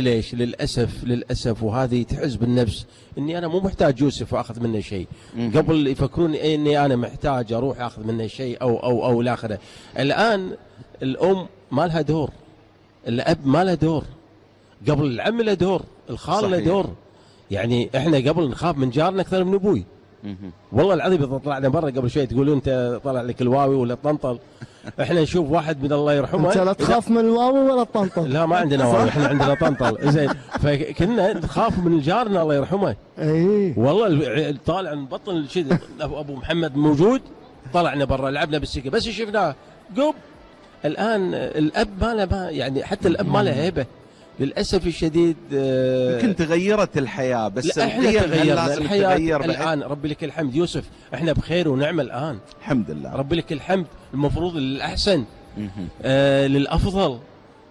ليش؟ للأسف وهذه تحز بالنفس إني أنا مو محتاج يوسف وأخذ منه شيء، قبل يفكرون إني أنا محتاج أروح أخذ منه شيء أو الآخره. الآن الأم ما لها دور، الأب ما له دور، قبل العم له دور، الخال له دور. يعني إحنا قبل نخاف من جارنا أكثر من أبوي. والله العظيم إذا طلعنا برا قبل شوي تقولون أنت طلع لك الواوي ولا طنطل، احنا نشوف واحد من الله يرحمه. انت لا تخاف من الواوي ولا الطنطل. لا ما عندنا واوي، احنا عندنا طنطل. زين، فكنا نخاف من جارنا الله يرحمه. اي والله طالع من بطن ابو محمد موجود، طلعنا برا لعبنا بالسكه بس شفناه قب. الان الاب ما له، يعني حتى الاب ما له هيبه للاسف الشديد. يمكن تغيرت الحياه، بس احنا تغيرنا الحياه الان. ربي لك الحمد يوسف، احنا بخير ونعمه الان الحمد لله. ربي لك الحمد. المفروض للاحسن، للافضل.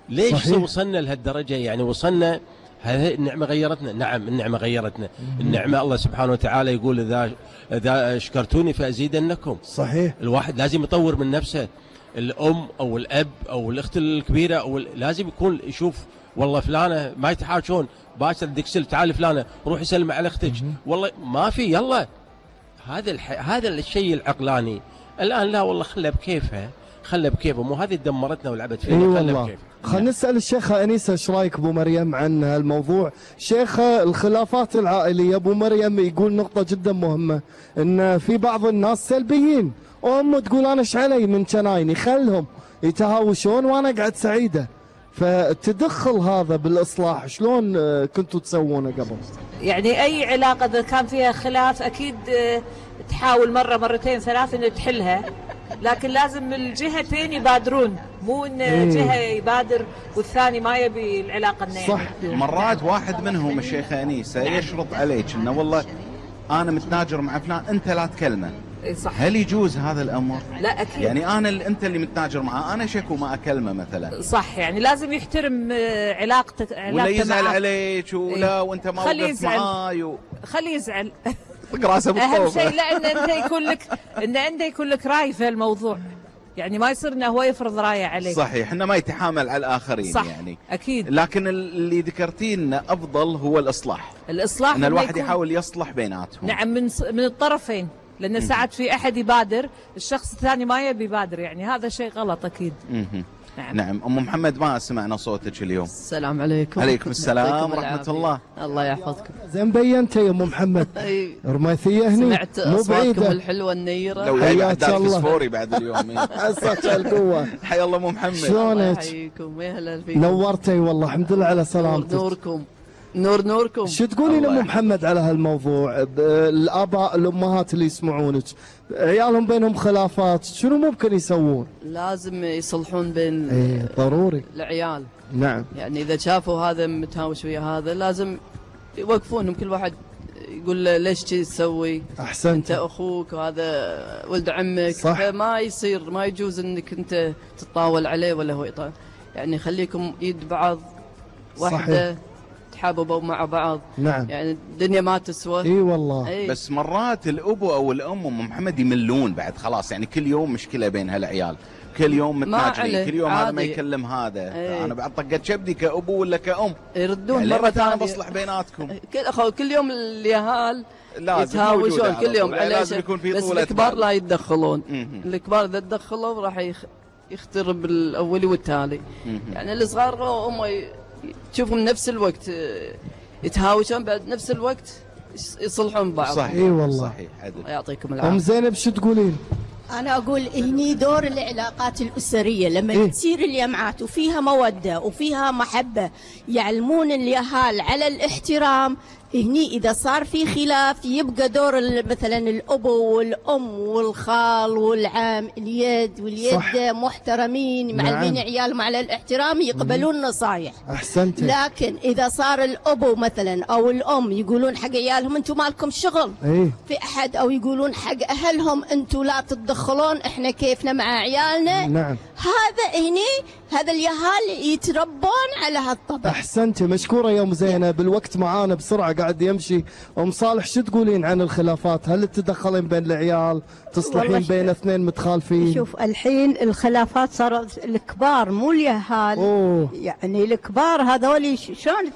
ليش صحيح. وصلنا لهالدرجه؟ يعني وصلنا، هذه النعمه غيرتنا. نعم النعمه غيرتنا. النعمه الله سبحانه وتعالى يقول اذا شكرتوني فازيدنكم. صحيح. الواحد لازم يطور من نفسه. الام او الاب او الاخت الكبيره او لازم يكون يشوف والله فلانه ما يتحاشون، باشر دكسل تعال فلانه روح يسلم على اختك. والله ما في، يلا هذا الشيء العقلاني. الان لا والله خلها بكيفها، خلها بكيفها، مو هذه دمرتنا ولعبت فينا. خلها بكيفها. خلينا نسال الشيخه انيسه ايش رايك ابو مريم عن هالموضوع؟ شيخه الخلافات العائليه ابو مريم يقول نقطه جدا مهمه، ان في بعض الناس سلبيين، وام تقول انا ايش علي من جنايني، خلهم يتهاوشون وانا اقعد سعيده. فتدخل هذا بالاصلاح شلون كنتوا تسوونه قبل؟ يعني اي علاقه اذا كان فيها خلاف اكيد تحاول مره مرتين ثلاث انه تحلها، لكن لازم الجهتين يبادرون، مو ان جهه يبادر والثاني ما يبي العلاقه انه صح. مرات واحد منهم الشيخه انيسه يشرط عليك انه والله انا متناجر مع فلان انت لا تكلمه. صح. هل يجوز هذا الامر؟ لا اكيد. يعني انت اللي متناجر معاه، انا شكو ما اكلمه مثلا. صح، يعني لازم يحترم علاقتك ولا يزعل عليك ولا وانت ما وقفت معاي خليه يزعل. طق راسه بالطوفه. اهم شيء لا ان انت يكون لك راي في الموضوع، يعني ما يصير انه هو يفرض رايه عليك. صحيح، انه ما يتحامل على الاخرين. صح. يعني اكيد. لكن اللي ذكرتيه انه افضل هو الاصلاح ان الواحد يحاول يصلح بيناتهم. نعم، من الطرفين، لان ساعات في احد يبادر الشخص الثاني ما يبي يبادر، يعني هذا شيء غلط اكيد. نعم. ام محمد ما سمعنا صوتك اليوم. السلام عليكم. عليكم السلام ورحمه الله. الله يحفظكم. زين بينت يا ام محمد. رميثيه هني سمعت اصواتكم الحلوه النيره. لو حياك الله فسفوري بعد اليوم. عساك القوه. حيا الله ام محمد. شلونك؟ يحييكم يا هلا فيكم. نورتي والله، الحمد لله على سلامتك. نوركم نوركم. شو تقولين ام محمد على هالموضوع؟ الاباء الامهات اللي يسمعونك عيالهم بينهم خلافات شنو ممكن يسوون؟ لازم يصلحون بين ضروري العيال. نعم. يعني اذا شافوا هذا متهاوش ويا هذا لازم يوقفونهم، كل واحد يقول له ليش كذي تسوي؟ احسنت. انت اخوك وهذا ولد عمك. صح. فما يصير، ما يجوز انك انت تتطاول عليه ولا هو يطاول. يعني خليكم يد بعض واحده. صحيح. تحاببوا مع بعض. نعم. يعني الدنيا ما تسوى. اي والله. بس مرات الابو او الام ام محمد يملون بعد خلاص، يعني كل يوم مشكله بين هالعيال، كل يوم متناجرين، كل يوم هذا ما يكلم هذا. انا بعد طقت شبدي كابو ولا كأم يردون يعني مره ثانيه. انا بصلح بيناتكم. كل يوم اليهال يتهاوشون كل يوم على لازم يكون في بس الكبار لا يتدخلون. الكبار اذا تدخلوا راح يخترب الاولي والتالي. يعني الصغار هم تشوفهم نفس الوقت يتهاوشون، بعد نفس الوقت يصلحون بعض. صحيح. اي والله. صحيح. الله يعطيكم العافيه. ام زينب شو تقولين؟ أنا أقول هني دور العلاقات الأسرية لما تصير الجمعات وفيها مودة وفيها محبة، يعلمون اليهال على الاحترام. هني إذا صار في خلاف يبقى دور مثلا الأبو والأم والخال والعم اليد واليد محترمين معلمين عيالهم على الاحترام، يقبلون نصايح. أحسنت. لكن إذا صار الأبو مثلا أو الأم يقولون حق عيالهم أنتم مالكم شغل في أحد، أو يقولون حق أهلهم أنتم لا تتدخلون إحنا كيفنا مع عيالنا. نعم. هذا هني هذا اليهال يتربون على هالطبع. احسنتي، مشكوره يا ام زينب. الوقت معانا بسرعه قاعد يمشي. ام صالح شو تقولين عن الخلافات؟ هل تتدخلين بين العيال؟ تصلحين بين اثنين متخالفين؟ شوف الحين الخلافات صارت الكبار مو اليهال. يعني الكبار هذول شلون